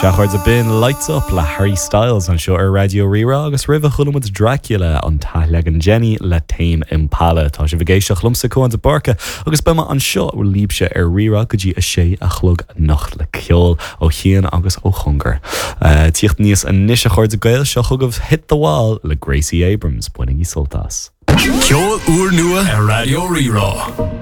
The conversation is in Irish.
Sea, a chairde, b'in Lights Up le Harry Styles anseo ar Raidió Rí-Rá agus roimhe chuala muid Dracula, an t-athleagan Jenny le Tame Impala. Tá sibh ag éisteacht liomsa, Cúán de Búrca, agus beidh mé anseo libhse ar Rí-Rá go dtí a sé a chlog anocht le ceol ó chian agus ó chóngar. Tíocht aníos anois a chairde Gael, seo chugaibh Hit the Wall le Gracie Abrams. Bainigí sult as. Ceol úrnua ar Raidió Rí-Rá.